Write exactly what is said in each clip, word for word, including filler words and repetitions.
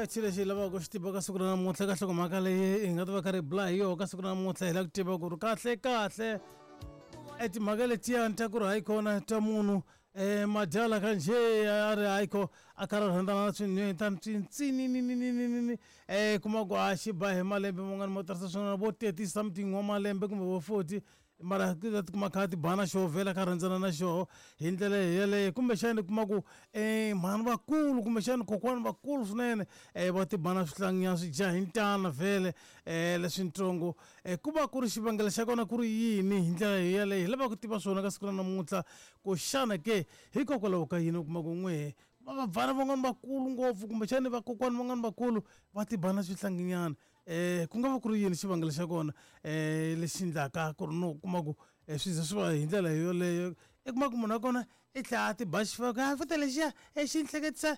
Xilo lexi hi lavaka ku xi tiva ka siku ra namuntlha ka nhlokomhaka leyi hi nga ta va kha ri bula hi yona ka siku ra namuntlha hi lava ku tiva ku ri kahle kahle e timhaka letiyani ta ku ri hayi kona ta munhu um madyala ka njhe a ri hayi ko a karhi a rhandzana na swinhwetani swintsinininininini um kuma ku a xi ba hi malembe man'wana mo tarisa swona vo thirty something wa malembe kumbe vo forty mara ti ta tikuma kha ti ba na xoho vhela kha rhandzana na xoho hi ndlela yeleyo kumbexani kuma ku um mhani vakulu kumbexani kokwani vakulu swinene um va ti ba na swihlanginyana swi dya hi ntana vhele um leswintsongo um ku va ku ri xivangelo xa kona ku ri yini hi ndlela yeleyo hi lava ku tiva swona ka siku ra namuntlha ku xana ke hikokwalaho ka yini u kuma ku n'wehe vabvana van'wani vakulu ngopfu kumbexani vakokwani van'wani vakulu va ti ba na swihlanginyana um ku nga va ku ri yini xivangelo xa kona um lexi endlaka ku ri no kuma ku swi ze swi va hi ndlela yoleyo i kuma ku munhu wa kona i tlhela a ti ba xifuva a futa lexiya xi ni hleketisa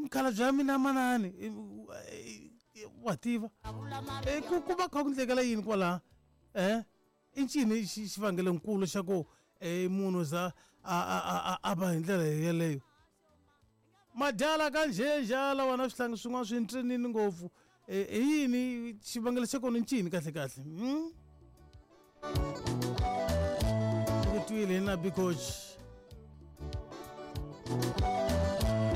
mukhalabye wa mina manani wa tiva ku ku va kha ku ndlekela yini kwalaha um i ncini xivangelonkulu xa ku um munhu za a a a va hi ndlela yeleyo madyala ka njhenjhala wona swihlangi swin'wana swi ntsinini ngopfu i yini xivangelo xa kona ncini kahle kahle ku twile hi na coach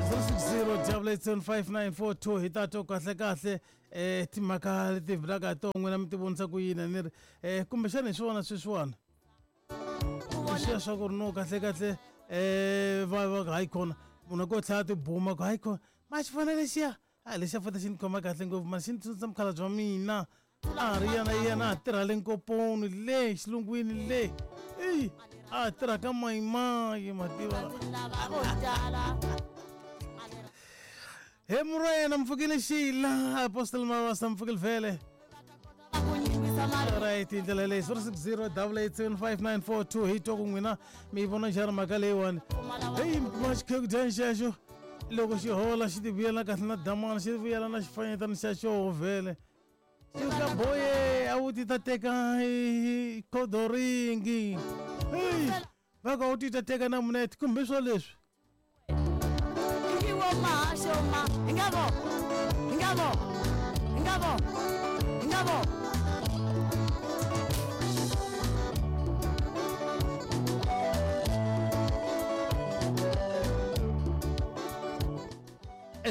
zero six zero double eight seven five nine four two hi ta twa kahle kahle um timhaka leti vulaka hi to n'wina mi ti vonisa ku yini ni ri um kumbexana hi swona sweswiwani xiya swa ku ri no kahle kahle um va va hayi kona munhu ko tlhela tibuma ku hayi kona ma xi fana lexiya a lexiya fota xi ni khoma kahle ngopfu mani xi ni tsundzuxa mukhalabye wa mina a ri yena yena a tirha le nkoponi le xilungwini le eyi a tirha ka mayimayi mativa he murwena mpfukile xila apostle mavasa mpfukile vhele right hi ndlela leyi zero six zero double eight seven five nine four two hi twa ku n'wina mi yi vona njhani mhaka leyiwani heyi ma xikhekudyani xexo loko xi hola xi ti vuyela kahle na damana xi vuyela na xifanyetana xa xoho vhele xi ka boye a wu ti ta teka khodoringi heyi va ka u ti ta teka na munete kumbe swo leswi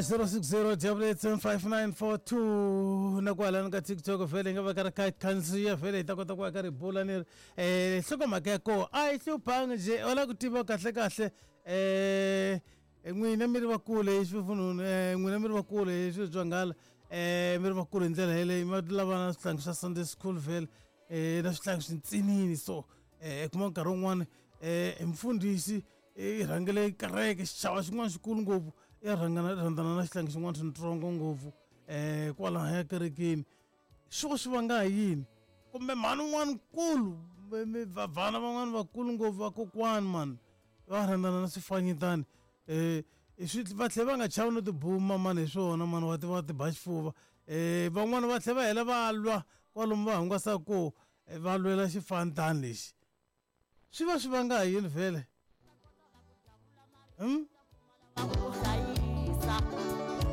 zero six zero double eight seven five nine four two na kwalano ka TikTok vhele hi nga va ka ri kha khandziya vhele hi ta kota ku va ka ri bula ni ri um nhlokomhaka ya koho a yi hluphangi njhe u lava ku tiva kahle kahle um n'wina mi ri vakulu hi swifununu um n'wina mi ri vakulu hi swilo swa nghala um mi ri vakulu hi ndlela yeleyo mi lava na swihlangi swa Sunday school vhele um na swihlangi swintsinini so um kuma nkarhi wun'wani um mfundhisi i rhangele kereke xichava xin'wana xikulu ngopfu i rhangana rhandzana na xihlangi xin'wana xintsongo ngopfu um kwalaya kerekeni swo swi vanga hi yini kumbe mhani un'wana nkulu vabvana van'wana vakulu ngopfu vakokwani mani va rhandzana na swifanyetani um swi va tlhela va nga chavi no tibuma mani hi swona mani wa ti va ti ba xifuva um van'wana va tlhela va hela va lwa kwalomu va hungasaka koho va lwela xifantani lexi swi va swi vanga hi yini vhele Hmm?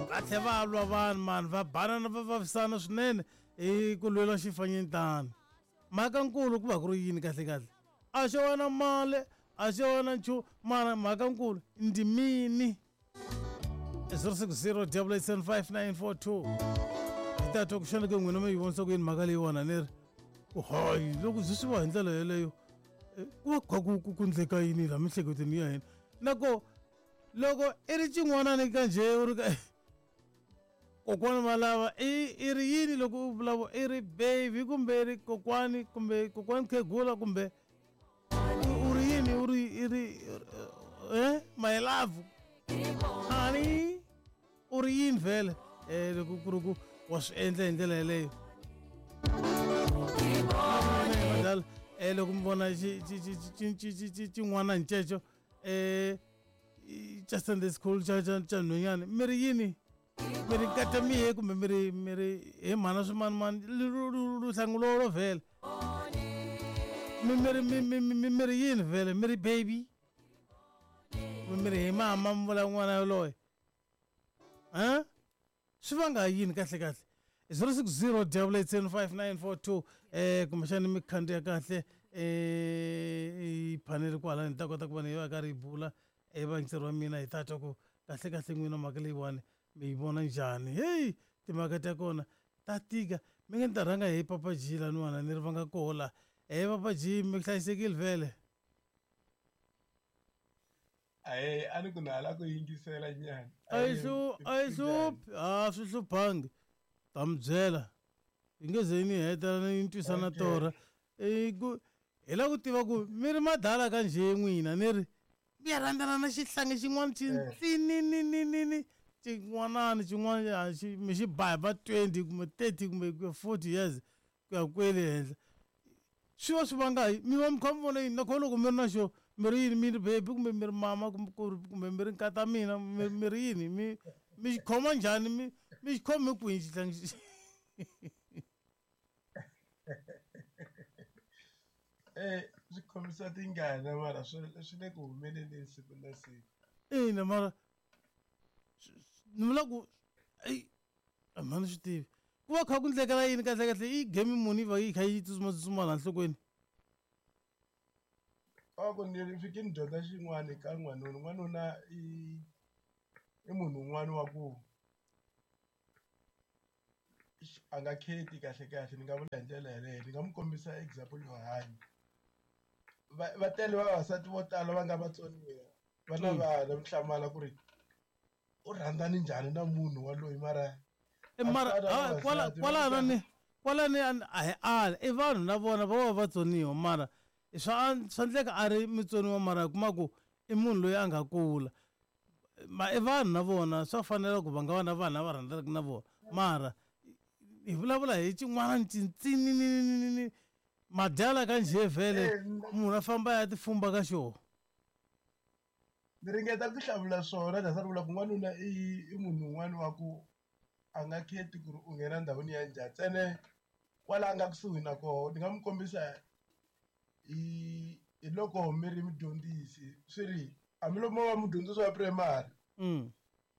Va tlhela va lwa vanhu mani va banana va vavisana swinene hi ku lwela xifanyetana mhaka nkulu ku va ku ri yini kahle kahle a xo va na mali a xo va na nchumu mara mhaka nkulu ndimini zero six zero double eight seven five nine four two hi ta twa ku xana ke n'wina mi yi vonisa ku yini mhaka leyiwani a ni ri ku hayi loko byi swi va hi ndlela yeleyo ku va kha ku ku ndleka yini laha miehleketweni ya hina na ko loko i ri xin'wanani ka njhe u ri ka kokwani va lava i i ri yini loko u vulavula i ri baby kumbe i ri kokwani kumbe kokwani khegula kumbe u ri yini u ri i ri eh my love honey u ri yini vhele eh loko ku ri ku wa swi endla hi ndlela yeleyo eh loko mi vona xi xi xi xi xi xin'wana nceco eh xa Sunday school xa xa xa nhwanyana mi ri yini mi ri nkata mihe kumbe mi ri mi ri hi mhana swimanimani luhlangu lolo vhele mi mi ri mi mi mi mi ri yini vhele mi ri baby mi ri hi mama mi vula n'wana yoloye ha Swi vanga yini kahle kahle? zero six zero double eight seven five nine four two eh kumbexani mi khandziya kahle eh i phanele kwala ni ta kota ku va ni yi va karhi yi bula e vayingiseri wa mina hi ta twa ku kahle kahle n'wina mhaka leyiwani mi yi vona njhani. Heyi, timhaka ta kona ta tika. Mi nge ni ta rhanga hi Papa G laniwani ni ri va nga koho la. E Papa G, mi hlayisekile vhele? Ahee, a ni ku na hala ku yingisela nyana. A yi hlu a yi hluphi, a swi hluphangi. Ta mi byela yi nge ze ni heta ni twisa na torha. I ku hi lava ku tiva ku mi ri madala ka njhe n'wina, ni ri mi ya rhandzana na xihlangi xin'wana xintsinini xin'wanani xin'wana xi mi xi ba hi va twenty kumbe thirty kumbe forty years ku ya kwele henhla. Swi va swi vanga hi mi va mi kha mi vona yini? Nakona loko mi ri na xo mi ri yini? Mi ri baby kumbe mi ri mama kumbe kumbe mi ri nkata mina, mi mi ri yini? Mi mi xi khoma njhani? Mi mi xi khome kwihi xihlangi? Eh, swi khomisa tingana mara swi swi le ku humeleleni siku na siku. Ina, mara ni vula ku eyi a mhani swi tivi ku va kha ku ndlekela yini kahle kahle? I game muni yi va yi kha yi tsutsuma laha nhlokweni? A ku ni fike ni dyondza xin'wana ka n'wanuna. N'wanuna i i munhu un'wana wa ku a nga kheti kahle kahle, ni nga vula hi ndlela yaleyo. Ni nga n'wi kombisa example yo hanya. Va va tele vavasati vo tala va nga vatsoniwa va na vana, mi hlamala ku ri u rhandzani njhani na munhu waloyi, mara mara kwala kwalano ni kwalani a hi ali i vanhu na vona va va vatsoniwa, mara swa swa endleka a ri mutsoniwa, mara hi kuma ku i munhu loyi a nga kula. Ma i vanhu na vona swa fanela ku va nga va na vanhu lava rhandzanaka na vona, mara hi vulavula hi xin'wana xintsinini madyala ka njhe vhele munhu a famba ya tifumba ka xona. Ni ringeta ku hlamula swona that's why ni vula ku n'wanuna i i munhu un'wana wa ku a nga kheti ku ri u nghena ndhawini ya njhani, ntsena kwala a nga kusuhi na koho. Ni nga n'wi kombisa hi hi loko mi ri mudyondzisi, swi ri hambiloko mo va mudyondzisi wa primary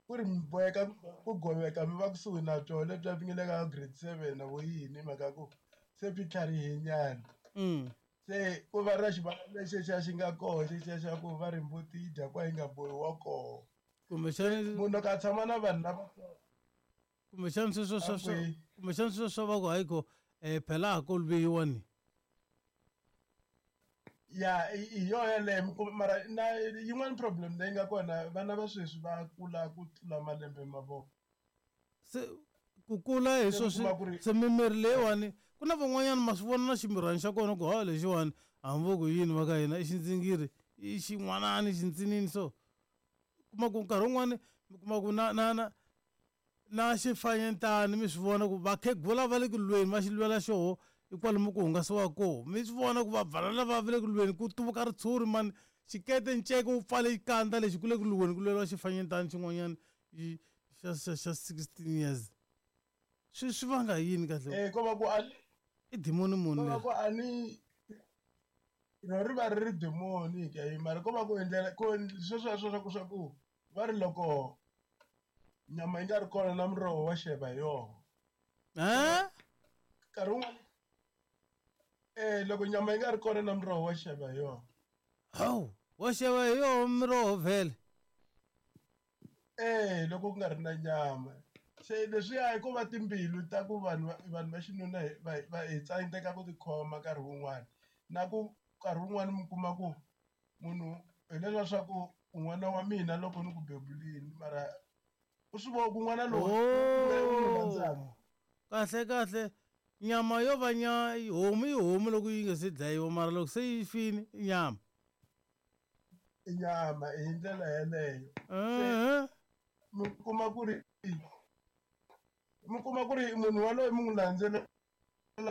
ku ri mi boheka ku goveka mi va kusuhi na byona lebyiya byi nga le ka grade seven na vo yini, hi mhaka ku se byi tlharihe nyana. Se ku va na xivandla lexiya xi nga koho xexiya xa ku va ri mbuti yi dya kwa yi nga bohiwa koho. Kumbexani munhu loko a tshama na vanhu lava kumbexani sweswo swa swa kumbexani sweswo swa va ku hayi ko um phela ha koluveyiwa ni. Ya, hi yona yeleyo. Mara na yin'wana problem leyi nga kona, vana va sweswi va kula ku tlula malembe ma vona. Se ku kula hi swo swi se mimiri leyiwani ku na van'wanyana ma swi vona na ximirhwana xa kona ku ha lexiwani hambi ku yini va ka hina i xindzingiri i xin'wanani xintsinini, so kuma ku nkarhi wun'wani mi kuma ku na na na na xifanyetana mi swi vona ku vakhegula va le ku lweni va xi lwela xoho i kwalomu ku hungasiwa koho, mi swi vona ku vabvana lava va le ku lweni ku tuvuka ritshuri mani xikete nceke wu pfale xikandza lexi ku le ku lweni ku lweriwa xifanyetana xin'wanyana xa xa xa sixteen years. Swi swi vanga yini kahle? Eh, ko va ku a i dimoni muni ko va ku a ni ro ri va ri ri dimoni ke, mara ko va ku endlela ku sweswo swa ku swa ku va ri loko nyama yi nga ri kona na muroho wa xeva hi yona. Eh? Nkarhi wun'wana eh loko nyama yi nga ri kona na muroho wa xeva hi yona. Hawu, wa xeva hi yona miroho vhele? Eh, loko ku nga ri na nyama. Se leswiya hi ku va timbilu ta ku vanhu vanhu va xinuna va va hi tsandzeka ku tikhoma nkarhi wun'wani, na ku nkarhi wun'wani mi kuma ku munhu hi leswiya swa ku n'wana wa mina loko ni ku bebulini, mara u swi vona ku n'wana lowu u rhandzaka. Kahle kahle nyama yo va nya homu i homu loko yi nga se dlayiwa, mara loko se yi fini i nyama. I nyama hi ndlela yeleyo. Mi kuma ku ri mi kuma ku ri munhu waloye mi n'wi landzelela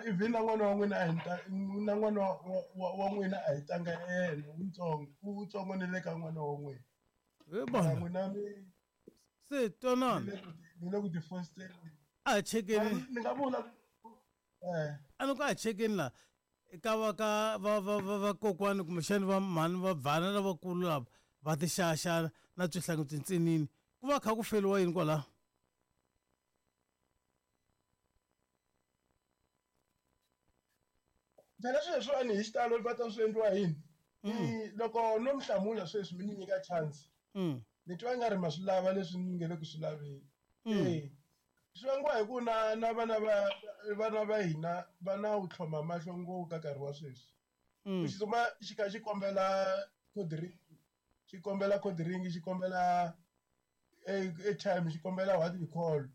even na n'wana wa n'wina a hi na n'wana wa wa n'wina a hi ntanga yena wutsongo wutsongo ni le ka n'wana wa n'wina. N'wina mi se twanana ni le ku ti fosteleni. A hi chekeni ni nga vula eh a ni ku a hi chekeni la ka va ka va va va vakokwani kumbexani va mhani va bvana lavakulu lava va ti xaxana na swihlangi swintsinini ku va kha ku feriwa yini kwalaho? Phela sweswiwani hi xitalo va ta swi endliwa yini? I loko no mi hlamula sweswi mi ni nyika chance. Mm. Ni twa nga ri ma swi lava leswi ni nge le ku swi laveni. Mm. Eh. Swi vangiwa hi ku na na vana va vana va hina va na wu tlhoma mahlo ngopfu ka nkarhi wa sweswi. Mm. Xi tsutsuma xi kha xi kombela cold drink, xi kombela cold drink, xi kombela airtime, xi kombela what you call.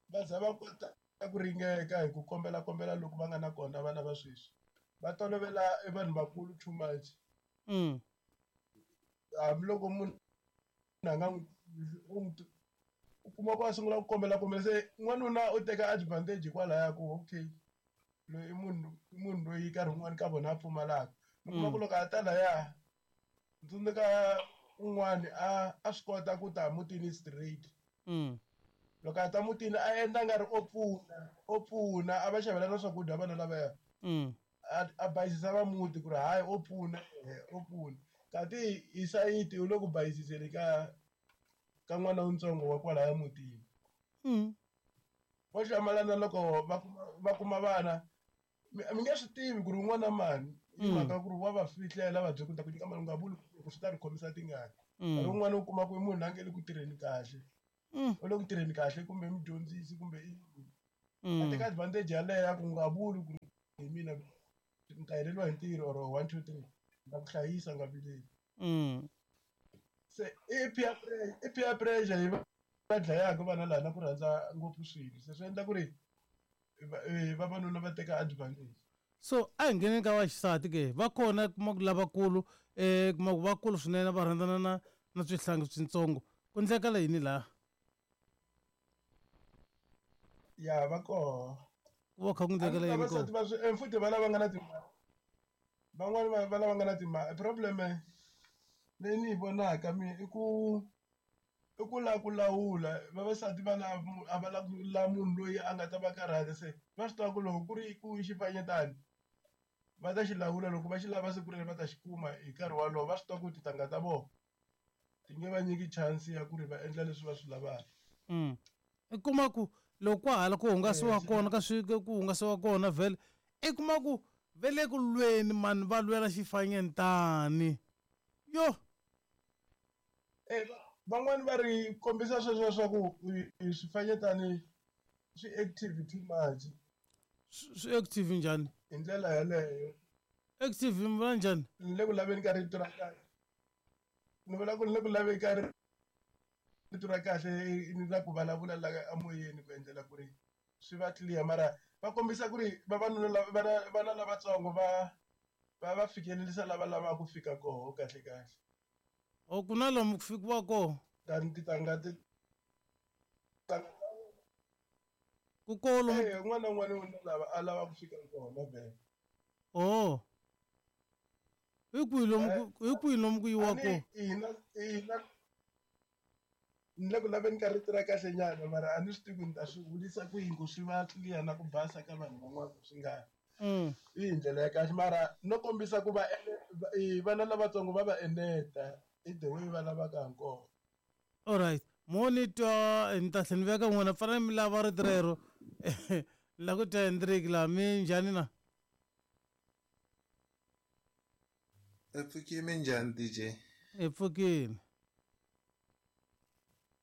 Va za va kota ku ringeka hi ku kombela kombela loko va nga na kona vana va sweswi. Va tolovela e vanhu vakulu too much. Mm. Hambiloko munhu a nga n'wi u n'wi u kuma ku a sungula ku kombela kombela se n'wanuna u teka advantage hikwalaya ku okay loyi i munhu i munhu loyi nkarhi wun'wani ka vona a pfumalaka. Mi kuma ku loko a ta laya ndzi tsundzuka un'wani a a swi kota ku ta mutini straight. Mm. Loko a ta mutini a endla nga ri o pfuna o pfuna a va xavela na swakudya vana lavaya. Mm. A a bayizisa va muti ku ri hayi o pfuna o pfuna. Kanti hi sayiti u le ku bayiziseni ka ka n'wana wutsongo wa kwalaya mutini. Mm. Vo hlamalana loko va kuma va kuma vana mi mi nge swi tivi ku ri un'wana mani hi mhaka ku ri wa va fihlela va bye ku ta ku nyika mali u nga vuli ku swi ta ri khomisa tingana. Nkarhi wun'wani u kuma ku i munhu la nge le ku tirheni kahle. Mm. U le ku tirheni kahle kumbe i mudyondzisi kumbe i yini. A Mm. teka advantage yaleyo ya ku nga vuli ku hi mina ni ta heleriwa hi ntirho or one two three ni ta ku hlayisa u nga vileli. Mm. Se i peer pressure i peer pressure yi va dlayaka vana laha na ku rhandza ngopfu swilo se swi endla ku ri vavanuna va teka advantage. So a hi ngheneni ka vaxisati ke va kona kuma ku lavakulu eh kuma ku vakulu swinene va rhandzana na na swihlangi switsongo ku endlekala yini laha? Ya va koho. Ku va kha ku endlekala yini Vavasati kona? va swi futhi va lava nga na timali van'wani va va lava nga na timali problem leyi ni yi vonaka mina i ku i ku lava ku lawula vavasati va lava a va lava ku la munhu loyi a nga ta va karhata se va swi tiva ku loko ku ri ku xifanyetana va ta xi lawula loko va xi lava siku rero va ta xi kuma hi nkarhi wolowo va swi tiva ku tintangha ta vona ti nge va nyiki chance ya ku ri va endla leswi va swi lavaka. Mm. I kuma ku loko kwa hala ku hungasiwa kona ka swi ku hungasiwa kona vhele i kuma ku ve le ku lweni mani va lwela xifanyetani yo. Eh van'wani va ri kombisa sweswo swa ku swifanyetani swi active too much. Swi active njhani? Hi ndlela yaleyo. Active mi vula njhani? Ni le ku laveni ka rito ra kahle. Ni vula ku ni le ku laveni ka rito ra kahle ni la ku vulavula la emoyeni ku endlela ku ri swi va clear mara va kombisa ku ri vavanuna lava vana vana lavatsongo va va va fikelerisa lava lavaka ku fika koho kahle kahle. O ku na lomu ku fikiwa koho? Tani tintangha ti Ku koho lomu Eh un'wana na un'wana u lava a lava ku fika kona vhele. Oh. Hi kwihi lomu ku hi kwihi lomu ku yiwa koho? Hina hina ni le ku laveni ka rito ra kahle nyana mara a ni swi tivi ku ni ta swi vulisa ku yini ku swi va clear na ku basa ka vanhu van'wana swi nga Mm. yi hi ndlela ya kahle mara no kombisa ku va vana lavatsongo va va eneta i the way va lavaka ha kona. Alright. Mo ni twa ni ta tlhela ni veka n'wina fanele mi lava rito rero. Ni la ku twa Hendrik laha mi njhani na? Hi pfukile minjhani D J? Hi pfukile.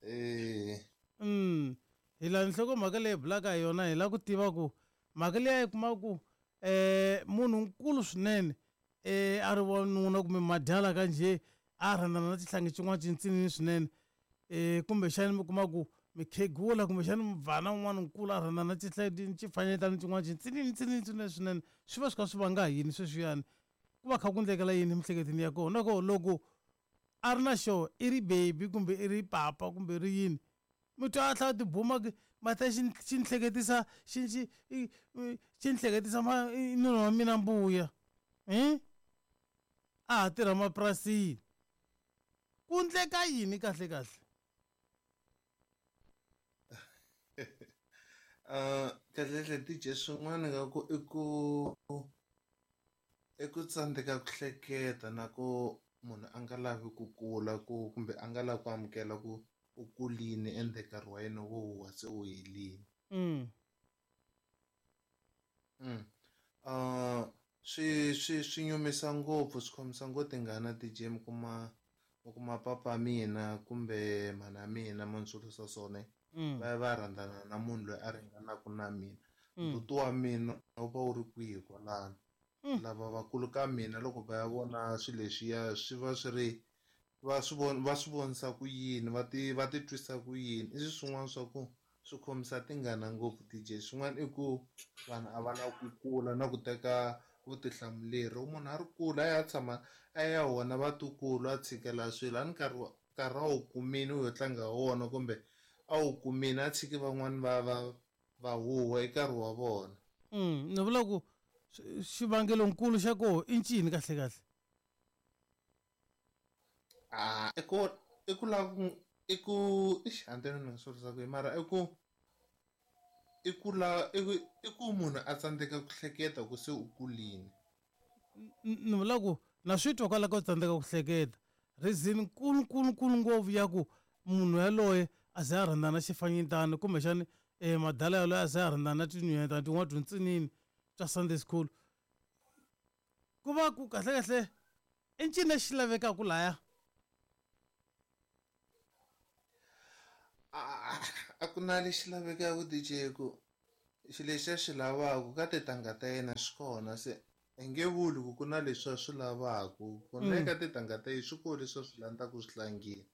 Eh. Mm. Hi laha nhlokomhaka leyi hi bulaka hi yona hi lava ku tiva ku mhaka leyi yi kuma ku eh munhu nkulu swinene eh a ri wanuna kumbe madyala ka njhe a rhandzana na xihlangi xin'wana xintsinini swinene eh kumbexani mi kuma ku mikhegula kumbexani mubvana un'wana nkulu a rhandzana na xifanyetana xin'wana xintsinini tsinini swinene swinene swi va swi kha swi vanga yini sweswiyani ku va kha ku endlekela yini emiehleketweni ya kona nako loko a ri na xo i ri baby kumbe i ri papa kumbe ri yini mi twa a tlhela tibuma ma ta xi xi ni hleketisa xi xi xi ni hleketisa ma nuna wa mina mbuya hi a ha tirha mapurasini ku endleka yini kahle kahle? Uh kahle kahle D J swin'wana nga ku i ku i ku tsandzeka ku hleketa na ku munhu a nga lavi ku kula ku kumbe a nga lavi ku amukela ku u kulini ende nkarhi wa yena wo huwa se wu helini. Mm. Mm. Uh Swi swi swi nyumisa ngopfu swi khomisa ngopfu tingana D J mi kuma mi kuma papa mina kumbe mhana mina ma ni swilo swona va ya va rhandzana na munhu loyi a ringanaka na mina. Ndzhuti wa mina wu va wu ri kwihi kwalano. Lava vakulu ka mina loko va ya vona swilo leswiya swi va swi ri va swi vona va swi vonisa ku yini va ti va ti twisa ku yini i swilo swin'wana swa ku swi khomisa tingana ngopfu D J. Swin'wana i ku vanhu a va lavi ku kula na ku teka vutihlamuleri loko munhu a ri kula a ya tshama a ya vona vatukulu a tshikela swilo a ni nkarhi wa nkarhi a wu kumile u yo tlanga hi wona kumbe a wu kumile a tshiki van'wani va va va huhwa i nkarhi wa vona. Ni vula ku xivangelonkulu xa koho i ncini kahle kahle? A i ku i ku lava ku i ku ixi a ni tivi ni nga swi vurisa ku yini mara i ku i ku la i ku i ku munhu a tsandzeka ku hleketa ku se u kulini. Ni vula ku na swi twa kwala ka ku tsandzeka ku hleketa reason nkulu nkulu nkulu ngopfu ya ku munhu yaloye a ze a rhandzana na xifanyetana kumbexani eh madala yaloye a ze a rhandzana na tinhwanyetana tin'wana tintsinini ta Sunday school ku va ku kahle kahle i ncini lexi lavekaka laya? A ku na lexi lavekaka D J ku xilo lexi a xi lavaka ka tintangha ta yena xi kona se i nge vuli ku ku na leswi a swi lavaka ku na eka tintangha ta yena swi kona leswi a swi landzaka swi tlangile.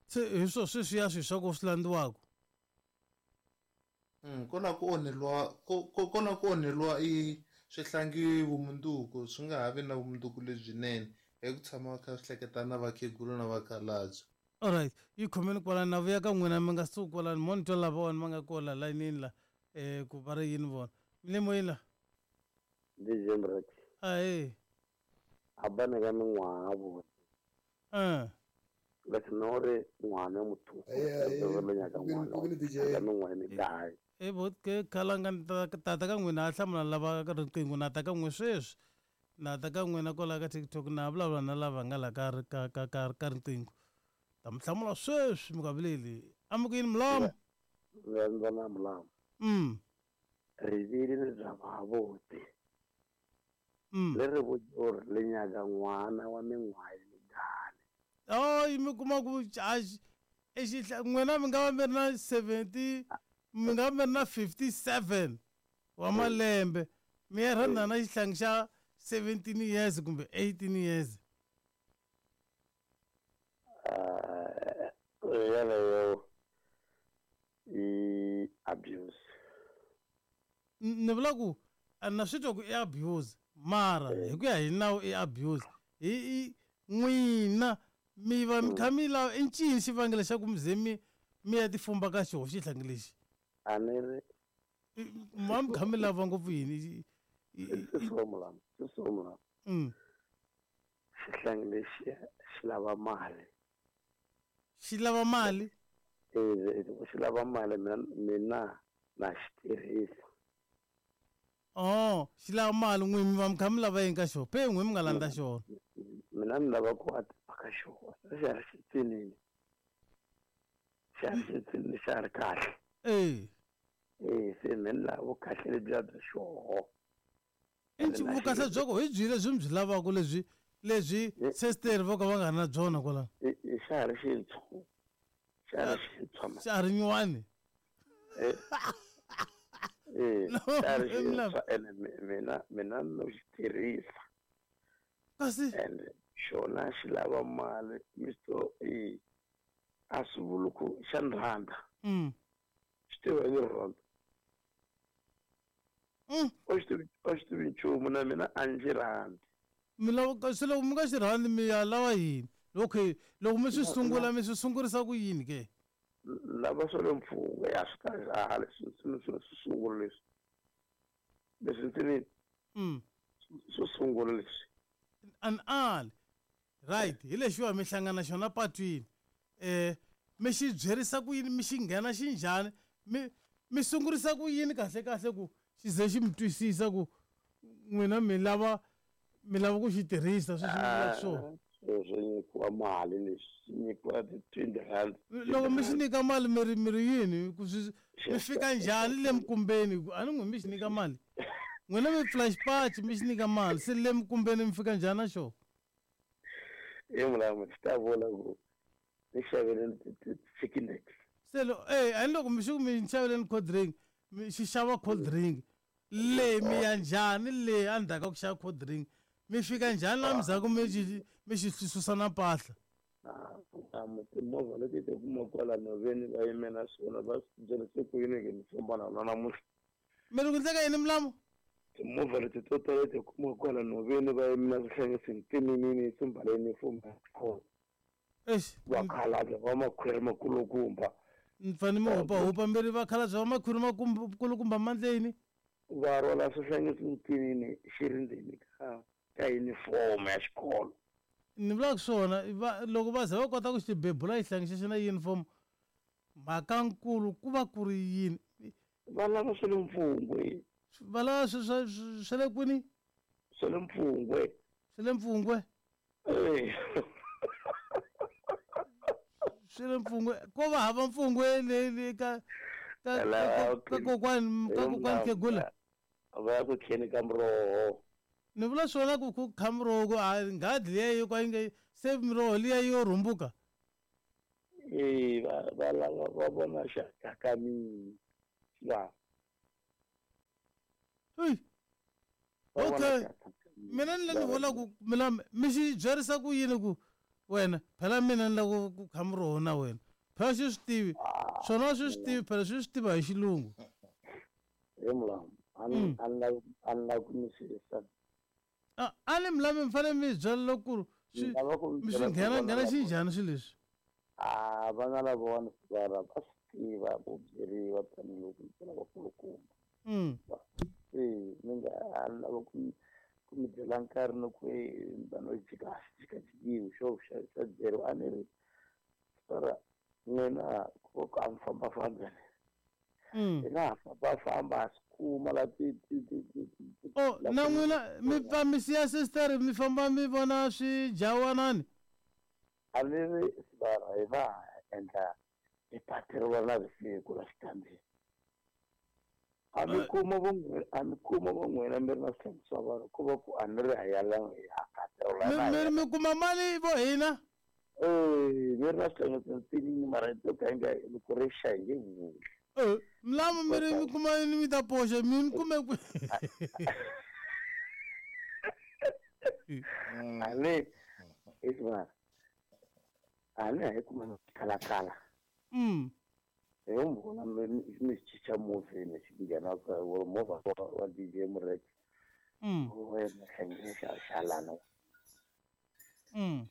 Se hi swo sweswiya swilo swa ku swi landziwaka? Ko lava ku onheliwa ko ko ko lava ku onheliwa i swihlangi vumundzuku swi nga ha vi na vumundzuku lebyinene hi ku tshama va kha swi hleketa na vakhegula na vakhalabye. Alright, yi khomeni kwalano na vuya ka n'wina mi nga suki kwalano mo ni twa lava vona va nga kola layinini la eh ku va ri yini vona mi le moyeni la? D J Mrek. Ahee. Hambana ka min'waha vona. Eh. Leswi no ri n'wana muthu. Ahee. Nyaka n'wana. Ku Ka min'waha mi kaye. E bo ke khalanga tata ka n'wina a hlamula lava ka riqingho na ta ka n'we sweswi. Na ta ka n'wina kwala ka TikTok na vulavula na lava nga la ka ka ka ka ka riqingho. Ta mi hlamula sweswi mi nga vileli. A mi ku yini mulamu? Ndza na mulamu. Mm. Rivili ni bya vabuti. Mm. Le ri vutsa le nyaka n'wana wa min'waha yi mingani. Oh, mi kuma ku a exihla n'wina mi nga va mi ri na seventy mi nga va mi ri na fifty-seven wa malembe mi ya rhandza na xihlangi xa seventeen years kumbe eighteen years. Yeleyo i abuse. Ni vula ku a na swi twa ku i abuse mara hi ku ya hi nawu i abuse hi i n'wina mi va mi kha mi lava i ncini xivangelo xa ku mi ze mi mi ya tifumba ka xoho xihlangi lexi? A ni ri ma mi kha mi lava ngopfu yini? Swi so mulamu, swi so mulamu. Mm. Xihlangi lexi xi lava mali. Xi lava mali? Eh, xi lava mali mina mina na xi tirhisa. Oh, xi lava mali n'wi mi va mi kha mi lava yini ka xona? Pe n'wi mi nga landza xona. Mina ni lava ku a ka xona. Xa ha ri xitsinini. Xa ha ri xitsinini, xa ha ri kahle. Eh. Eh, se mina ni lava vukahle lebyiya bya xoho. I vukahle bya koho hi byi lebyi mi byi lavaka lebyi lebyi sister vo ka va nga ri na byona kwalano? Xa ha ri xintshwa. Xa ha ri xintshwa. Xa ha ri nyuwani? Eh. Eh, xa ha ri xintshwa ene mina mina no xi tirhisa. Kasi and xona xi lava mali Mister E a swi vuli ku xa ni rhandza. Mm. Xi tiva ni rhandza. Mm. O xi tivi o xi tivi nchumu na mina a ndzi rhandzi. Mi lava se loko mi nga xi rhandzi mi ya lava yini? Okay, loko mi swi sungula mi swi sungurisa ku yini ke? Lava swa le mpfungwe ya swi ta leswi swi swi swi sungula leswi. Leswi ndzi ni Mm. swo sungula leswi. An ali. Right, hi lexiwa mi hlangana xona patwini. Eh, mi xi byerisa ku yini mi xi nghena xi njhani? Mi mi sungurisa ku yini kahle kahle ku xi ze xi mi twisisa ku n'wina mi lava mi lava ku xi tirhisa sweswi mi vulaka swona? Swi nyikiwa mali leswi swi nyikiwa ti-twenty rand. Loko mi xi nyika mali mi ri mi ri yini ku swi mi fika njhani le mikumbeni a ni n'wi mi xi nyika mali? N'wina mi pfula xipaci mi xi nyika mali se le mikumbeni mi fika njhani na xona? E mulamu xi ta vula ku ni xaveleni chicken necks. Se lo eh a ni loko mi xi ku mi xaveleni cold drink mi xi xava cold drink le mi ya njhani le endzhaku ka ku xava cold drink mi fika njhani laha ndzhaku mi xi mi xi susa na mpahla? A timovha leti ti kuma kwala nhoveni va yime na swona va swi byerise ku yini ke ni famba na wona namuntlha. Mi ri ku endleka yini mulamu? Timovha leti to tala ti kuma kwala nhoveni va yime na swihlangisini timinini swi mbale uniform ya xikolo. Eish. Vakhalabye va makhwiri makulukumba. Ni fanele mi hupahupa mi ri vakhalabye va makhwiri makulukumba mandleni? Va rhwala swihlangisini tinini xi ri ndzeni ka ka uniform ya xikolo. Ni vulaka swona loko va ze va kota ku xi bebula xihlangi xexo na uniform mhakankulu ku va ku ri yini? Va lava swa le mpfungwe. Va lava swa swa le kwini? Swa le mpfungwe. Swa le mpfungwe? Eh. Swa le mpfungwe ko va hava mpfungwe le le ka ka ka kokwani ka kokwani Khegula. Va ya ku kheni ka muroho. Ni vula swona ku ku kha muroho ku a nghadi liya yo ka yi nga se miroho liya yo rhumbuka. Eh va va lava va vona xa ka mina. Va. Hey. Okay. Mina ni ni vula ku mina mi xi byerisa ku yini ku wena phela mina ni lava ku kha muroho na wena. Phela xi swi tivi. Swona swi swi tivi phela swi swi tiva hi xilungu. He mulamu a ni a ni lavi ku mi xisa. A a ni mulamu mi fanele mi byela loko ku swi mi swi nghena nghena xi njhani swilo leswi? A vana lavawani va va swi tiva ku byeriwa tanihiloko mi vona vakulukumba. Mm. Eh mi nga a ni lava ku ku mi byela nkarhi ni ku vanhu jika jikajikiwi xo xa xa byeriwa a ni ri sara n'wina ku ku a mi fambafambi Mm. hi nga ha fambafamba ha swi kuma la ti ti ti ti ti Oh na n'wina mi pfa mi siya sister mi famba mi vona swijawanani? A ni ri sara hi va endla hi pateriwa na vusiku la xitandini. A mi kuma vo a mi kuma vo n'wina mi ri na swihlangi swa vanhu ku va ku a ni ri ha yala hi hakatela Mi mi kuma mali vo hina? Eh mi ri na swihlangi tinini mara to ka yi nga loko ri xa hi nge vuli. Eh mulamu mi ri mi kuma yini mi ta poxa mi ni kume kwi? A ni isma a ni hi kuma kalakala. Mm. Hi mi vona mi mi chicha movheni xi nghena ka movha wa D J Murek. Mm. Wena hlangi xa xalana. Mm.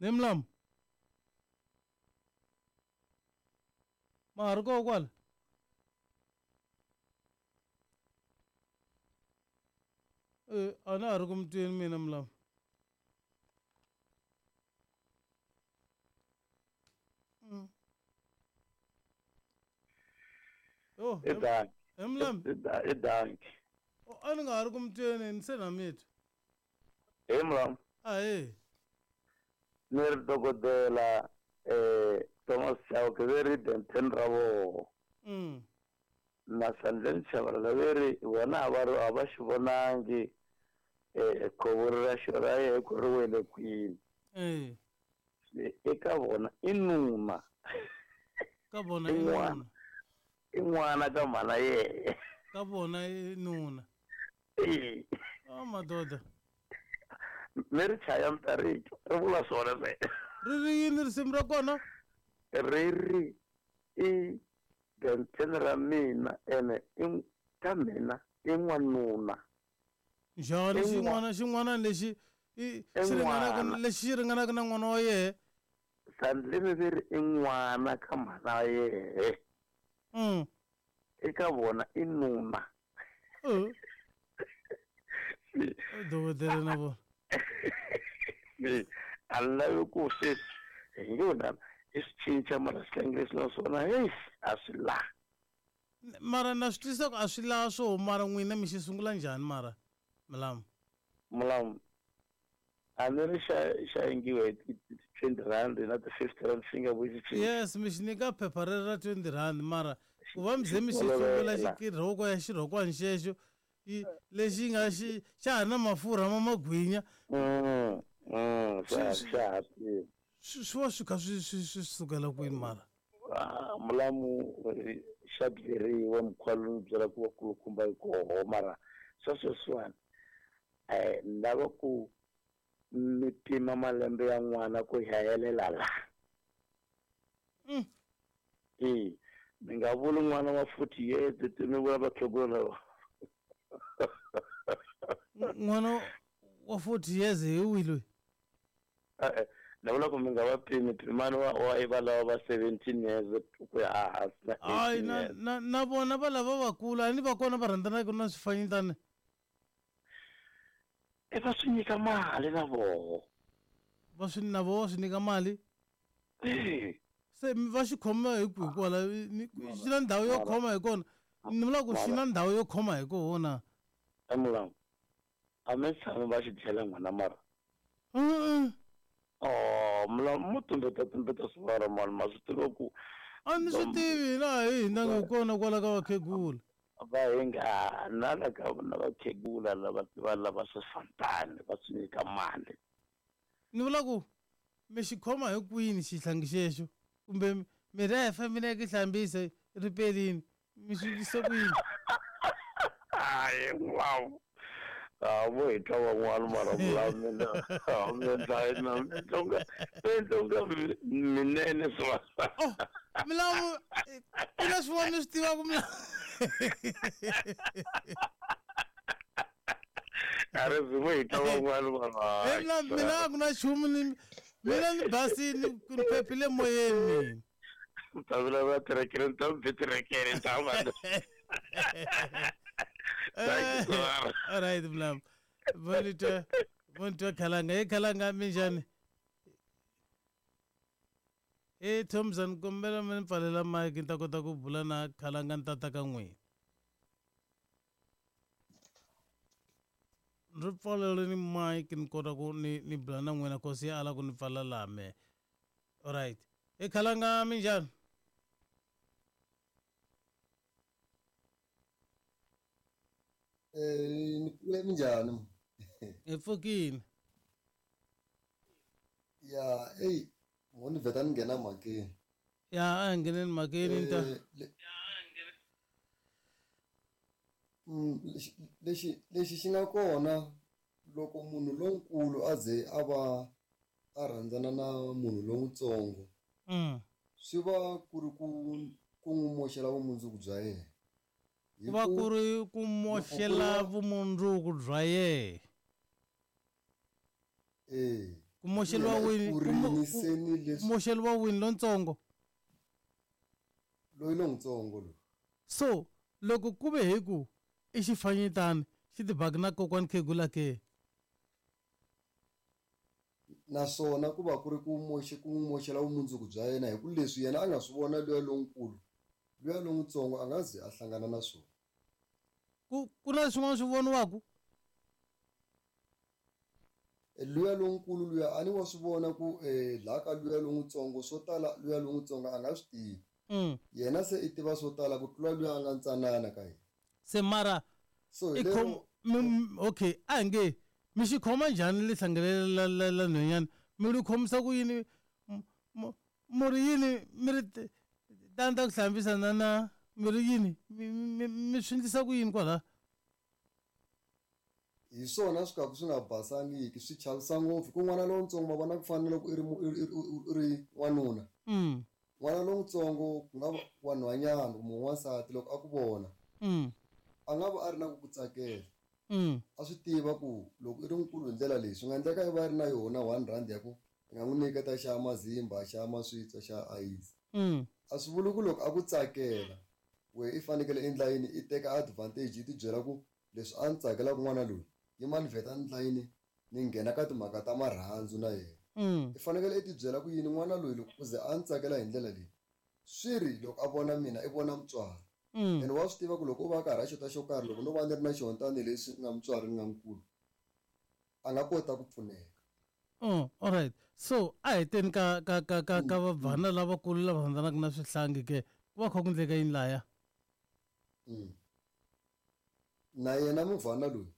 Ne mulamu ma ha ri koho kwala? Eh a na ha ri ku mi tweni mina mulamu. Mm. Oh, I danki. He mulamu. I danki. A ni nga ha ri ku mi tweni ni se na mi twa. He mulamu. Ahee. Ni ri dokodela eh Thomas Chauke ve ri Denton ra voho. Mm. Na Sandleni Chabalala ve ri vona a va ri a va xi vonangi eh khovo ra xo ra yehe ku ri wele kwini. Eh. Eka vona i nuna. Ka vona i nuna. I n'wana ka mhana yehe. Ka vona i nuna. Eh. Oh madoda. Mi ri chaya mi ta ri twa ri vula swona se. Ri ri yini risimu ra kona? Ri ri i Denton ra mina ene i ka mina i n'wanuna. Njhani xin'wana xin'wana lexi i xi ringanaka lexi xi ringanaka na n'wana wa yehe? Sandleni ve ri i n'wana ka mhana yehe. Mm. Eka vona i nuna. Eh. Dokodela na vona. A ni lavi ku se hi nge wena i swi cinca mara swihlangi leswi na swona heyi a swi laha. Mara na swi twisisa ku a swi laha swo mara n'wina mi xi sungula njhani mara mulamu? Mulamu A ni ri xa xa yengiwa hi ti twenty rand na ti fifty rand swi nga vuyi xi. Yes, mi xi nyika phepha rero ra twenty rand, mara ku va mi ze mi xi hluvula xirhoko ya xirhokwana xexo lexi nga xi xa ha na mafurha ma magwinya. Mm, mm, xa Swi- xa ha tirha. swi swi va swi kha swi swi swi sukela kwini mara? Ah, mulamu eh, xa byeriwa mukhuva lowu ni byela ku vakulukumba yi koho, mara swa sweswiwani um ni lava ku mi pima malembe ya n'wana ku ya helela la. Mm. E mi nga vuli n'wana wa forty years ti mi vula vakhegula lava. N'wana wa forty years hi wihi loyi? E-e, ni vula ku mi nga va pimi, pimani wa wa va lava va seventeen years ku ya hansi na hayi eighteen na years. na na vona va lava vakulu a ni va kona va rhandzanaka na swifanyetana. E va swi nyika mali na voho. Va swi na voho va swi nyika mali. E se mi va xi khoma hi kwihi kwala? Ni- xi na ndhawu yo khoma hi kona, ni vula ku xi na ndhawu yo khoma hi kona. Emulamu a mi tshami va xi dlela n'wana mara. Mm-mm. Oh, mulamu mo tumbeta tumbeta swivara mani, ma swi tiva ku a ni swi tivi hina hi hina hi kona kwala ka vakhegula. Va hi nga na la ka na vakhegula lava va lava swifantani va swi nyika mali. Ni vula ku mi xi khoma hi kwini xihlangi xexo, kumbe mi refa mi ya ki hlambisa ripelini, mi swi endlisa ku yini? Hayi mulamu, a vo hi twa van'wana, mara mulamu mina mi endla na mi endla unga mi endla unga minene swa. Oh, milawu ku na swin'wana ni swi tivaka milawu. A ri zi vo hi twa van'wana mara. Eh, mina mina a ku na nchumu, ni mina ni basini ni phephile moyeni mina. Ta vulavula tirekere, ni ta mi bi tirekere ni ta va. Thank you, sir. All right, mlam vonitwa vonitwa khalanga he khalanga, minjhani? E Thompson, kombela mi ni pfalela mike ni ta kota ku bula na khalanga ni tata ka n'wina. Ri pfaleleni mike ni kota ku ni ni bula na n'wina, kosi ya ala ku ni pfala laha me. Alright, e khalanga, minjhani? Eh, ni kule minjhani? Hi pfukile. Ya, eyi, mo ni vheta ni nghena mhakeni. Ya, a hi ngheneni mhakeni ni ta. Eh, le- Mm, lexi lexi lexi xi nga kona loko munhu lonkulu a ze a va a rhandzana na munhu lowutsongo, Mm. swi va ku ri ku ku n'wi moxela vumundzuku bya yena. Hi Ku va ku ku ri ku moxela vumundzuku bya yena. Eh, Ku moxeliwa yena i wini? Ku mo- kurini ku- se ni leswi moxeliwa wini lontsongo? Loyi lontsongo loyi. So loko ku ve hi ku i xifanyetana xi tibaki na kokwani khegula ke? Naswona ku va ku ri ku moxe ku n'wi moxela vumundzuku bya yena, hi ku leswi yena a nga swi vona luya lonkulu, luya lontsongo a nga ze a hlangana na swona. Ku ku na swin'wana swi voniwaku? E, luya lonkulu luya a ni wa swi vona ku eh, laha ka luya lontsongo swo tala luya lontsongo a nga swi tivi. Mm. Yena se i tiva swo tala ku tlula luya a nga ntsanana ka yena. Se mara So hi i khom lero mi- mi- okay, a hi nge mi xi khoma njhani lihlangele la la la nhwenyana, mi ri khomisa ku yini? M- mu mu ri yini? Mi ri t- tani ta ku hlambisa na na mi ri yini? mi mi mi swi endlisa ku yini kwala? Hi swona swi ka swi nga basangiki, swi chavisa ngopfu ku n'wana lontsongo ma vona ku fana na loko i ri mu- i ri- i ri- i ri n'wanuna. Mm. N'wana lontsongo ku nga va wa nhwanyana kumbe n'wansati, loko a ku vona Mm. a nga va a ri na ku ku tsakela. Mm. A swi tiva ku loko i ri nkulu hi ndlela leyi, swi nga endleka i va ri na yona one rand ya ku i nga n'wi nyiketa xa mazimba, xa maswitsa, xa ayisi. Mm. A swi vuli ku loko a ku tsakela we i fanekele i endla yini, i teka advantage, i ti byela ku leswi a ni tsakelaka n'wana loyi, yima ni vheta ni endla yini, ni nghena ka timhaka ta marhandzu na yena. Mm. I fanekele i ti byela ku yini, n'wana loyi loko ku ze a ni tsakela hi ndlela leyi, swi ri loko a vona mina i vona mutswari. Mm. Ene wa swi tiva ku loko u va karhi a xota xo karhi, loko no va ni ri na xona tanihileswi ni nga mutswari ni nga nkulu, a nga kota ku pfuneka. Oh, alright. So a hi teni ka ka ka ka ka vabvana lavakulu lava rhandzanaka na swihlangi ke ku va kha ku endleka yini laya? Mm. Na yena muvhana loyi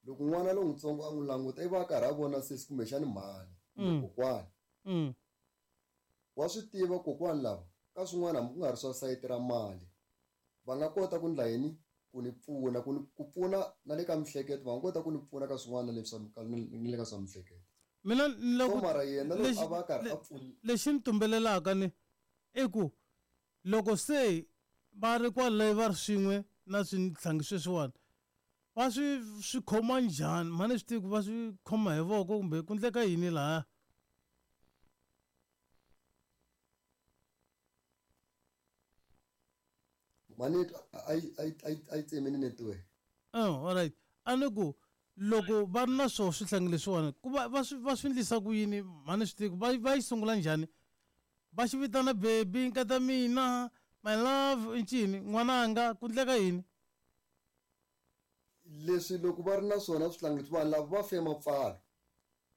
loko n'wana lowutsongo a n'wi languta i va a karhi a vona sesi kumbexani mhani kumbe kokwani. Mm. Wa swi tiva kokwani lava ka swin'wana hambi ku nga ri swa sayiti ra mali va nga kota ku ndla yini ku ni pfuna ku ni ku pfuna na le ka mihleketo va nga kota ku ni pfuna ka swin'wana na le swa na le ka swa mihleketo. Mina ni lava So ku mara yena loko lexi a va a karhi le a pfuni lexi ni tumbelelaka ni i ku loko se va ri kwale va ri swin'we na swihlangi sweswiwani va swi swi khoma njhani mhani swi tivi ku va swi khoma hi voko kumbe ku endleka yini lahaya? Mhani a yi a yi a yi a yi tsemini network. Oh, alright. A ni ku loko va ri na swoho swihlangi leswiwani ku va va swi va swi endlisa ku yini mhani swi tivi ku va va yi sungula njhani va xi vitana baby nkata mina my love i ncini n'wananga ku endleka yini? Leswi loko va ri na swona swihlangi leswi vanhu lava va fe mapfalo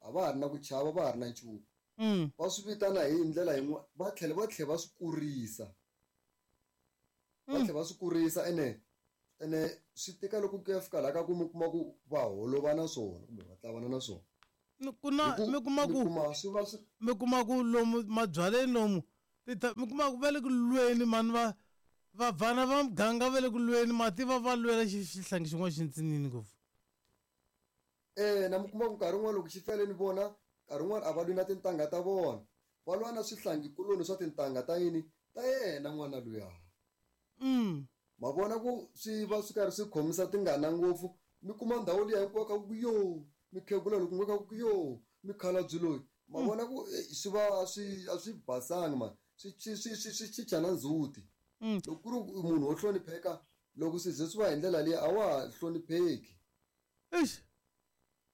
a va ha ri na ku chava va ha ri na nchumu. Mm. Va swi vitana hi ndlela yin'wana va tlhela va tlhela va swi kurisa. Va Mm. tlhela va swi kurisa ene ene swi tika loko ku ya fika laha ka ku mi kuma ku va holova na swona kumbe va tlavana na swona. Ni ku na Hi ku mi kuma mi ku kuma swi va swi mi kuma ku lomu mabyaleni lomu ti ta mi kuma ku va le ku lweni mani va vabvana va muganga va le ku lweni mati va va lwela xi xihlangi xin'wana xi ntsinini ngopfu. Eh na mi kuma ku nkarhi wun'wani loko xi fele ni vona nkarhi wun'wani a va lwi na tintangha ta vona va lwa na swihlangikuloni swa tintangha ta yini ta yena n'wana luya. Mm. Ma vona ku swi va swi karhi swi khomisa tingana ngopfu mi kuma ndhawu liya hinkwayo ka ku yo mikhegula loko ku ka ku yo mikhalabye loyi ma Mm. vona ku eh, swi va swi a swi basangi mani swi swi swi swi swi chicha na ndzhuti. Mm. Loko ku ri ku munhu wo hlonipheka loko swi ze swi va hi ndlela liya a wa ha hlonipheki. Eish.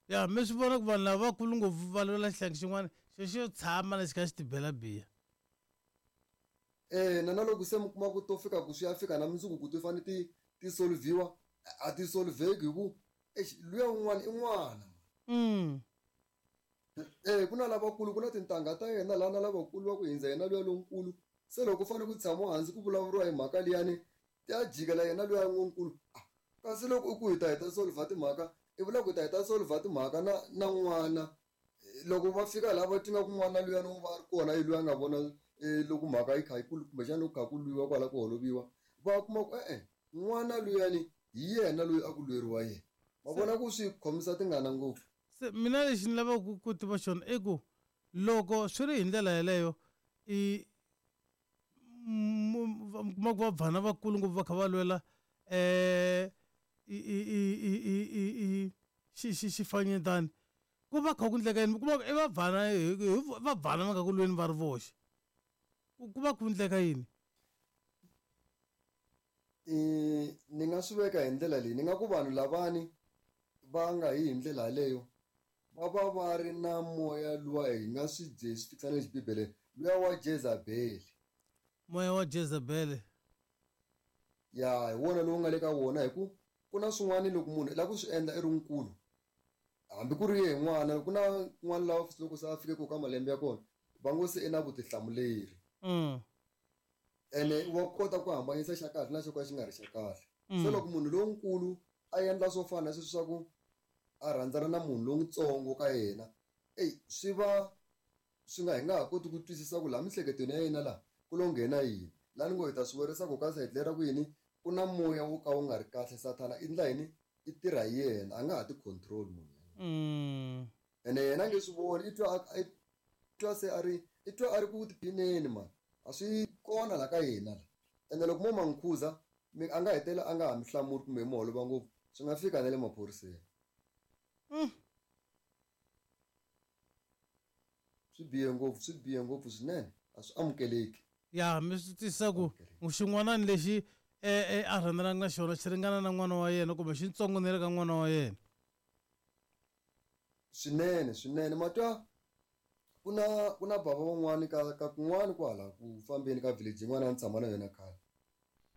Ya mi swi vona ku vanhu lava vakulu ngopfu va lwela xihlangi xin'wana xo xo tshama lexi kha xi tibela biya. Eh na na loko se mi kuma ku to fika ku swi ya fika na mundzuku ku ti fanele ti ti solviwa a ti solveki hi ku eish luya un'wana i n'wana. Mm. Eh ku na lavakulu ku na tintangha ta yena laha na lavakulu va ku hindza yena luya lonkulu se loko ku fanele ku tshamiwa hansi ku vulavuriwa hi mhaka liyani ti ya jikela yena luya lonkulu ah kasi loko u ku hi ta hi ta solva timhaka i vula ku hi ta hi ta solva timhaka na na n'wana loko va fika laha va twa ku n'wana luyani u va a ri kona i luya a nga vona eh, loko mhaka yi kha yi kulu kumbexana loko kha ku lwiwa kwala ku holoviwa va kuma ku e-e n'wana luyani hi yena loyi a ku lweriwa yena ma Se vona ku swi khomisa tingana ngopfu. se mina lexi ni lavaka ku ku tiva xona i ku loko swi ri hi ndlela yeleyo i mu- mi kuma ku vabvana vakulu ngopfu va kha va lwela eh i i i i i i i xi xi xifanyetana ku va kha ku endleka yini mi kuma ku i vabvana hi hi vabvana va nga ku lweni va ri voxe ku ku va ku endleka yini? Eh ni nga swi veka hi ndlela leyi ni nga ku vanhu lavani va nga yi hi ndlela yaleyo va va va ri na moya luwa hi nga swi dye swi fikisa na le xibibeleni luya wa Jezabel. Moya wa Jezebel. Ya hi wona lowu nga le ka wona hi ku ku na swin'wana loko munhu i lava ku swi endla i ri nkulu hambi ku ri yehe n'wana ku na n'wana lava loko se a fike ku ka malembe ya kona va ngo se i na vutihlamuleri. Mm. Ene wa kota ku hambanyisa xa kahle na xo ka xi nga ri xa kahle. Se Mm. loko munhu lonkulu a endla swo fana na sweswi swa ku a rhandzana na munhu lowutsongo ka yena eyi swi va swi nga hi nga ha koti ku twisisa ku laha miehleketweni ya yena laha ku lo nghena yini laha ni ngo hi ta swi werisa ku ka sayiti leri ra ku yini ku na moya wo ka wu nga ri kahle sathana i ndla yini i tirha hi yena a nga ha ti control munhu. Mm. Ene yena a nge swi voni i twa i twa se a ri i twa a ri ku tiphineni mani a swi kona la ka yena la ene loko mo ma n'wi khuza mi a nga hetelela a nga ha mi hlamuli kumbe mi holova ngopfu swi nga fika na le maphoriseni. Mm. Swi bihe ngopfu swi bihe ngopfu swinene a swi amukeleki. Ya mi swi twisisa ku xin'wanani lexi eh eh a rhandzanaka na xona xi ringana na n'wana wa yena kumbe xitsongo na le ka n'wana wa yena. Swinene swinene ma twa ku na ku na bava van'wani ka ka kun'wani kwala ku fambeni ka village yin'wana a ni tshama na yona khale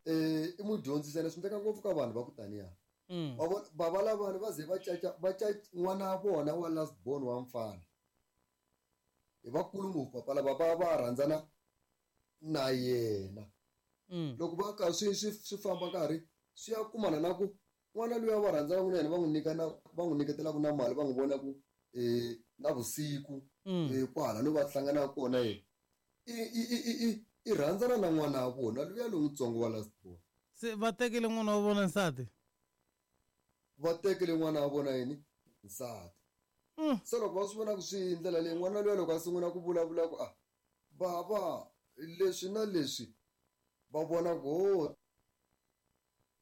eh i mudyondzisi ene swi endleka ngopfu ka vanhu va ku taniya. Mm. Va vona bava lavani va ze va caca va caca n'wana wa vona wa last born wa mfana I vakulu ngopfu papa lava va va rhandzana na yena. Mm. Loko va ka swi swi swi famba nkarhi swi ya kumana na ku n'wana luya va rhandzanaka na yena va n'wi nyika na va n'wi nyiketelaka na mali va n'wi vona ku eh na vusiku Mm. eh kwala no va hlanganaka kona yena i i i i i i rhandzana na n'wana wa vona luya lowutsongo wa last born. Se va tekele n'wana wa vona nsati. Va tekele n'wana wa vona yini nsati. Mm. Se loko va swi vona ku swi hi ndlela leyi n'wana luya loko a sungula ku vulavula ku a bava leswi na leswi va vona ku ho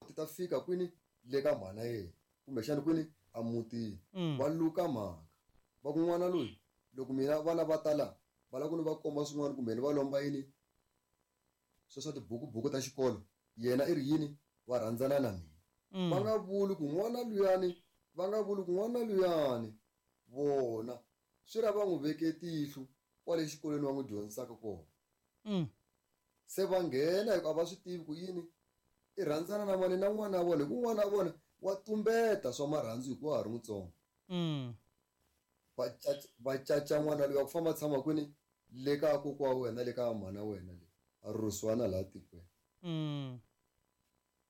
ti ta fika kwini le ka mhana yena kumbexana kwini a mutini. Mm. Va luka mhaka va ku n'wana loyi loko mina vana va ta la va lava ku ni va komba swin'wana kumbe ni va lomba yini swo swa tibukubuku ta xikolo yena i ri yini va rhandzana na mina. Mm. Va nga vuli ku n'wana luyani va nga vuli ku n'wana luyani vona swi ra va n'wi veke tihlo kwale xikolweni va n'wi dyondzisaka kona. Mm. Se va nghena hikuva a va swi tivi ku yini i rhandzana na mani na n'wana wa vona hi ku n'wana wa vona wa tumbeta swa marhandzu hikuva ha ri mutsongo. Mm. Va caca va caca n'wana luya ku famba tshama kwini le ka kokwa wa wena le ka mhana wena le a rhurhisiwa na laha tikweni. Mm.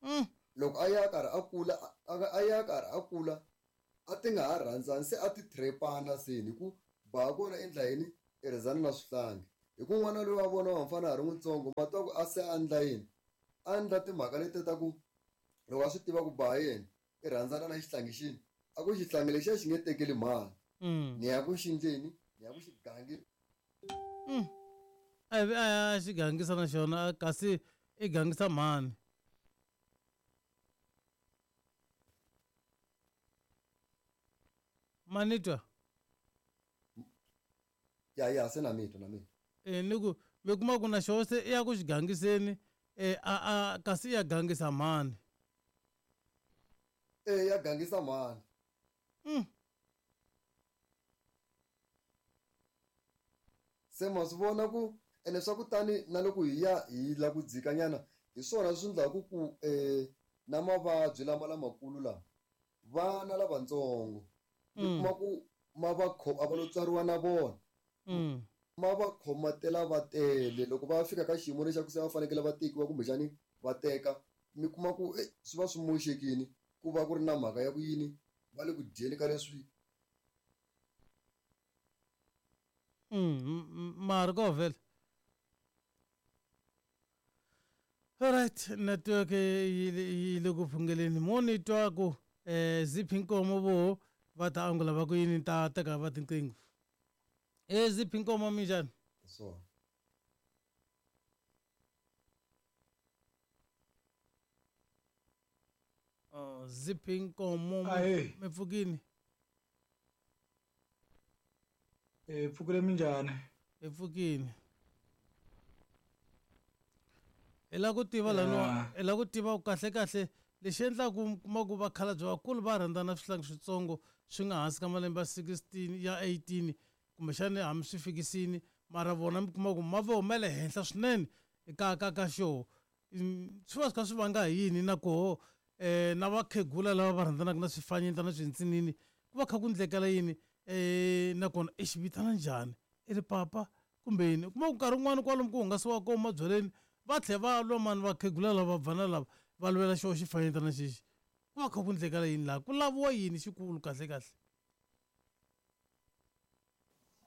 Mm. Loko a ya karhi a kula a a ya karhi a kula a ti nga ha rhandzani se a ti trepana se hi ku ba kona i endla yini i rhandzana na swihlangi hi ku n'wana loyi wa vona wa mfana ha ri n'witsongo ma twa ku a se a endla yini a endla timhaka leti ta ku loko a swi tiva ku ba yena i rhandzana na xihlangi xini a ku xihlangi lexiya xi nge tekeli mhani. Mm. Ni ya ku xi endleni ni ya ku xi gangi. Mm. A vi a ya xi gangisa na xona kasi i gangisa mhani. Manitwa. Ya ya se na mitwa na mitwa. Eh ni ku mi kuma ku na xona se i ya ku xi gangiseni eh a a kasi ya gangisa mhani. Eh ya gangisa mhani. Mm. Se ma swi vona ku ene swa ku tani na loko hi ya hi la ku dzikanyana hi swona swi endlaku ku eh na mavabyi lama lamakulu lama vana lavatsongo mi Mm. kuma ku ma va a va lo tswariwa na vona. Mm. Ma va khomatela va tele loko va fika ka xiyimo lexi ku se va fanekele va tekiwa kumbexani va teka mi kuma ku eh swi va swi moxekini ku va ku ri na mhaka ya ku yini va le ku dyeni ka leswi. Mm, mara ko vhele. Alright, network yi yi le ku phungeleni mo ni twa ku eh ziphi nkomo vo va ta angula va ku yini ta teka va tinqingho. Eh ziphi nkomo minjhani? So. Oh ziphi nkomo Ahee. mi pfukini? Eh pfukile minjhani? Hi pfukini. Hi lava ku tiva laniwa hi lava ku tiva ku kahle kahle lexi endlaku mi kuma ku vakhalabye vakulu va rhandzana swihlangi switsongo swi nga hansi ka malembe ya sixteen ya eighteen kumbexani hambi swi fikisini mara vona mi kuma ku ma vo ma le henhla swinene ka ka ka xo swi va swi kha swi vanga hi yini na koho eh na vakhegula lava va rhandzanaka na swifanyetana na swintsinini ku va kha ku ndlekela yini eh nakona i xi vitana njhani i ri papa kumbe yini u kuma ku nkarhi wun'wani kwalomu ku hungasiwa kona mabyaleni va tlhela va lwa mani vakhegula lava vana lava va lwela xo xifanyetana xexi ku va kha ku ndlekela yini laha ku laviwa yini xikulu kahle kahle.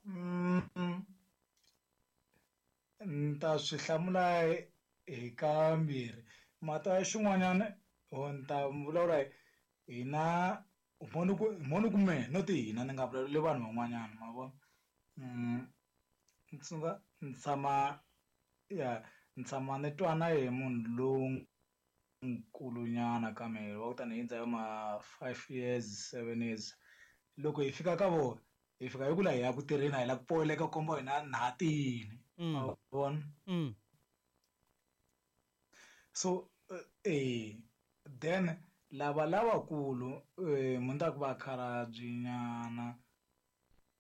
Mm. Ni ta swi hlamula hi kambirhi mata xin'wanyana or ni ta vulavula hina moni ku moni ku mehe no ti hina ni nga vulavuli vanhu van'wanyana ma vona. Mm. Ni tsundzuka ni tshama ya ni tshama ni twana hi munhu lonkulunyana ka mehe wa ku tani hi hundza hi ma five years seven years loko hi fika ka vona hi fika hi ku la hi ya ku tirheni a hi la ku poyileka komba hina na ha tiyini ma vona. Mm. So eh then lava lavakulu eh munhu ku va khalabyenyana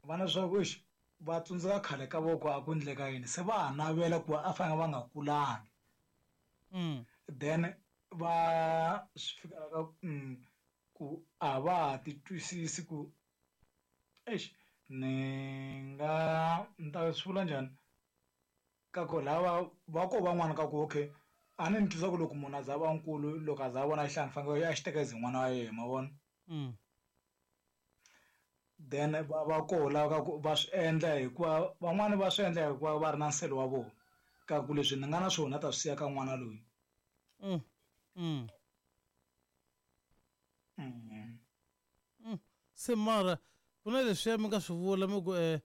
va na swa ku exi va tsundzuka khale ka voko a ku endleka yini se va ha navela ku a fanele va nga kulangi. Mm. Then va swi fika ka ku a va ha ti twisisi ku exi Ni nga ni ta swi vula njhani ka ku lava va ko van'wana ka ku okay a ni ni twisa ku loko munhu a za a va nkulu loko a za a vona xihlangi fanele a xi teka as n'wana wa yena ma vona Mm. Then va va koho lava ka ku va swi endla hikuva van'wani va swi endla hikuva va ri na nsele wa vona ka ku leswi ni nga na swona ta swi siya ka n'wana loyi. Mm. Mm. Mm. Mm. Se mara ku na leswiya mi nga swi vula mi ku um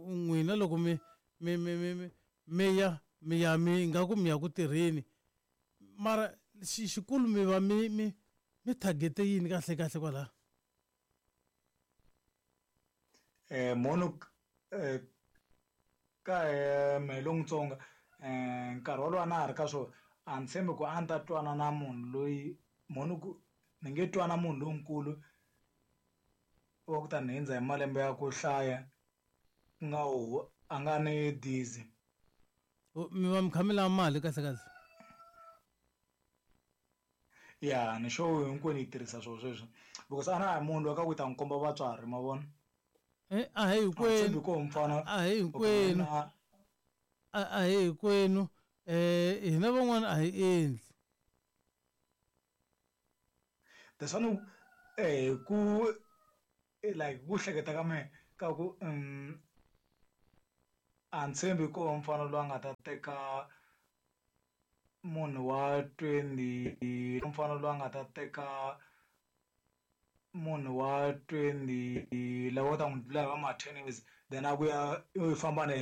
um n'wina loko mi mi mi mi mi mi ya mi ya mi nga ku mi ya ku tirheni mara xi xikulu mi va mi mi mi target-e yini kahle kahle kwalaho? Eh mono eh ka eh mehe lon'wutsongo eh nkarhi wolowo a na ha ri ka swona a ni tshembi ku a ni ta twana na munhu loyi mhoni ku ni nge twana munhu lonkulu wa ku ta ni hundza hi malembe ya ku hlaya ku nga hu a nga ni dizi. Mi va mi kha mi lava mali kahle kahle? Ya ni sure hinkwenu hi tirhisa swona sweswo because a na ha munhu loyi ka ku ta n'wi komba vatswari ma vona. Eh, a hi hinkwenu ko mfana a hi hinkwenu a a hi hinkwenu eh hina van'wana a hi endli. That's one eh ku like ku hleketa ka mehe ka ku um a ni tshembi ko mfana loyi a nga ta teka munhu wa twenty mfana loyi a nga ta teka munhu wa twenty lava ta n'wi dlula hi va ma ten years then a vuya i famba na yena.